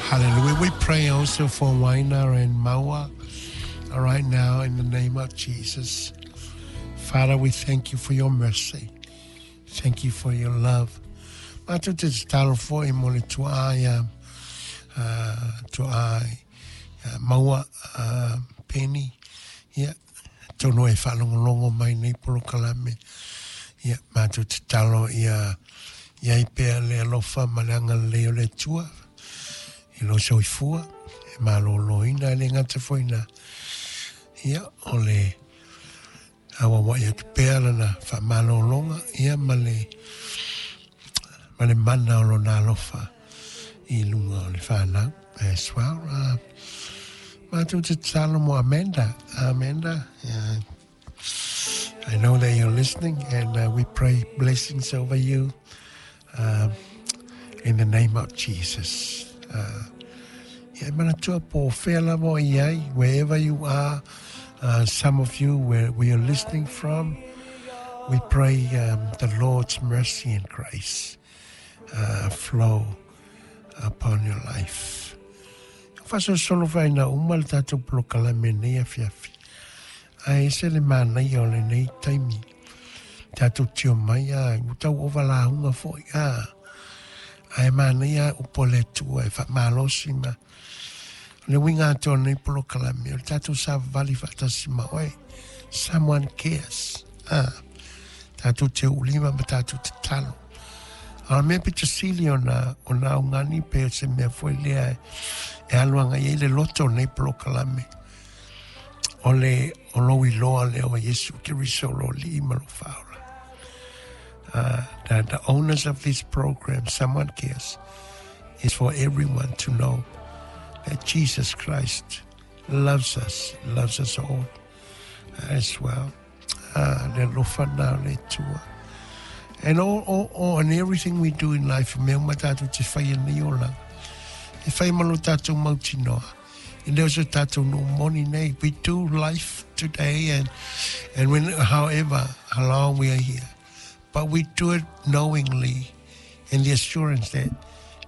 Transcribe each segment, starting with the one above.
Hallelujah. We pray also for Waina and Maua right now in the name of Jesus. Father, we thank you for your mercy. Thank you for your love. Matou te tatalo foi mo le tuaa ia tuaa ia Maua Penny. Ia, atonu e faalogologo mai nei polokalame. Ia, matou tatalo ia i ai pea le alofa ma le agalelei o le Atua i lou soifua e malōlōina e le gata foi na ia o le auauai atu pea lana faamalōlōga ia ma le ma le mana o lona alofa i luga o le whānau as well. Matou te tatalo mo Amanda. Amanda, I know that you're listening and we pray blessings over you in the name of Jesus. Ia e manatua po o whea lava o i ai, wherever you are, some of you where we are listening from, we pray the Lord's mercy and grace flow upon your life. Faasolosolo faina uma le tatou polokalame nei afiafi. Ae ese le manaia o lenei taimi. Tatou tio mai a, ua tau ova lauga foi a. Ae manaia upu a le Atua e faamalosi ma o le uiga atoa o lenei polokalame o le tatou savavali faatasi ma oe. Someone cares. A, tatou te uulima ma tatou tatalo. A o le mea pito sili ona, ona augani pe o se mea foi lea e alu agai ai le loto o lenei polokalame. O le o lou iloa lea o Iesu Keriso lo Alii ma lo Faaola. The owners of this program, Someone Cares, is for everyone to know that Jesus Christ loves us, loves us all as well. Le alofa na o le Atua. And all, all, all, and everything we do in life, mea uma tātou te whai nei olaga. E whai ma lo tātou mautinoa. E le o so tātou nuu moni nei. We do life today and when, however, how long we are here. But we do it knowingly in the assurance that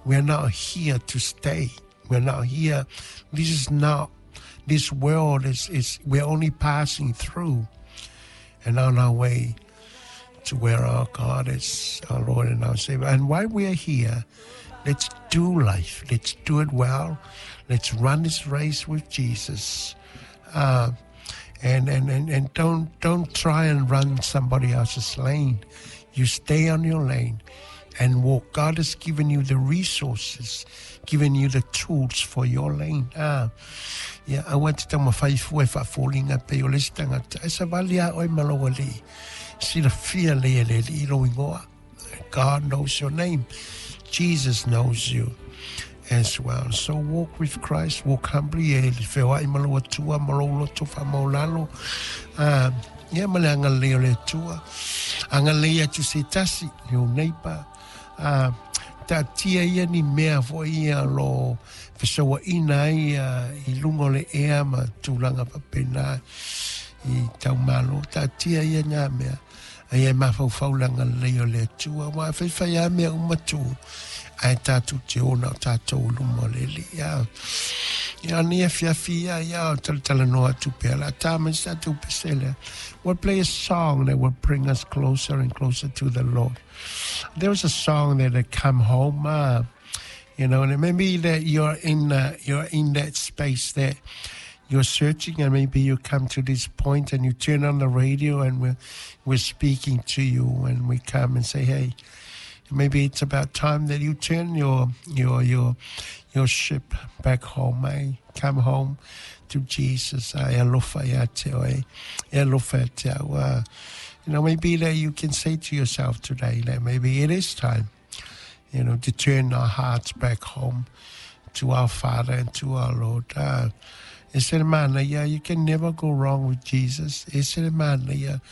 we are not here to stay. We're not here. This is not, this world is, we're only passing through and on our way to where our God is, our Lord and our Savior. And while we are here, let's do life. Let's do it well. Let's run this race with Jesus. And don't try and run somebody else's lane. You stay on your lane and walk. God has given you the resources, given you the tools for your lane. Ia, aua e te taumafai fua e faafoliga pei o le isi tagata. E savali lava oe ma lou Alii. Silafia lelei e le Alii lou igoa. God knows your name. Jesus knows you as well. So walk with Christ, walk humbly, e feoai ma lou Atua, ma lou loto faamaulalo. Ia ma le agalelei o le Atua. Agalelei atu se tasi, your neighbor. Taatia ia ni mea foi ia o lo fesauaina ai i luga o le ea ma tulaga faapena i taumalo. Taatia ia ngā mea. A ia e mafaufau le agalelei o le Atua. Aua e faifai lava mea uma tū, ae tatou te o na o tatou i luma o le Alii. Ia, ia nei afiafi ia, ia o talatalanoa atu pea la tā mai se tatou pese lea. We'll play a song that will bring us closer and closer to the Lord. There was a song that had come home, and it may be that you're in that space that you're searching, and maybe you come to this point and you turn on the radio and we're speaking to you, and we come and say, hey, maybe it's about time that you turn your ship back home, eh? Come home to Jesus. E alofa ia te oe, e alofa ia te au. Maybe that you can say to yourself today that maybe it is time, to turn our hearts back home to our Father and to our Lord. E se le manaia, you can never go wrong with Jesus. E se le manaia,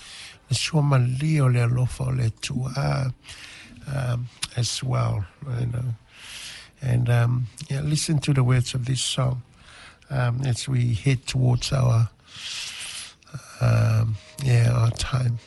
le suamalie o le alofa o le Atua, as well. And yeah, listen to the words of this song as we head towards our time.